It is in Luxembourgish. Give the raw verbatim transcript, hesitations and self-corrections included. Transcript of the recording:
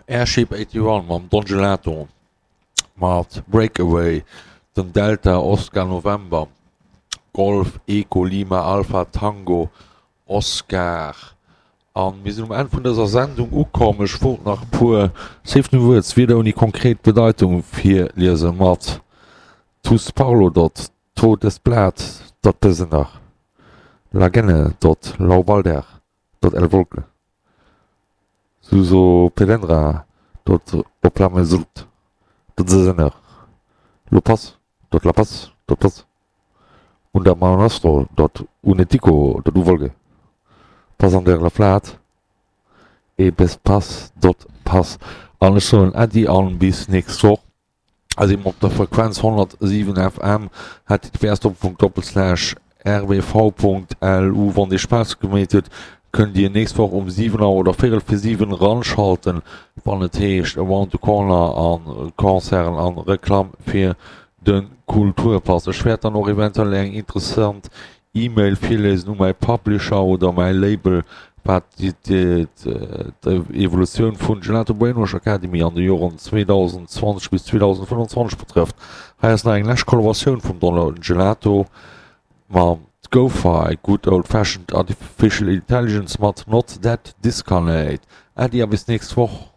Airship eighty-one mam Don Gelato mat Breakaway, den Delta Oscar November Golf Echo Lima Alpha Tango Oscar. An mir sinn um Enn vun dëser Sendung ukomm. Ech wollt nach e puer Safe New Words, Wierder ouni konkret Bedeitung, virliese mat Tus Parlo dot Todesblat dot Besener Lagenne dot Laubalder dot El Volke Suso Pelendra dot Oplamesult dot Sesener Lopas dot Lapas dot Pas Undermanastro dot Unetico dot Uvolge Pass an der La Flat e bis Pass dot Pass. An ech soen Äddi an bis nächst Woch. Also eben op der Frequenz honnertsiwen F M, H T T P S Doppelpunkt Doppelslash R W V Punkt L U. Wann dir Spaass gemeet huet, kënnt dir nächst Woch um siwen Auer oder véierel fir siwen ranschalten, wann et heescht Around the Corner an Concerten an Reklamm fir de Kulturpass. Ech wäert dann och eventuell eng interessant E-Mail virlesen u mäi Publisher oder mäi Label, wat d'Evolutioun vun Gelato Brainwash Academy an de Joren zweedausendzwanzeg bis zweedausendfënnwanzwanzeg betrëfft. Hei ass nach eng lescht Kollaboratioun vum Don Gelato mam GoFi, Good Old Fashioned Artificial Intelligence mat Not That Discarnate. Äddi a bis nächst Woch.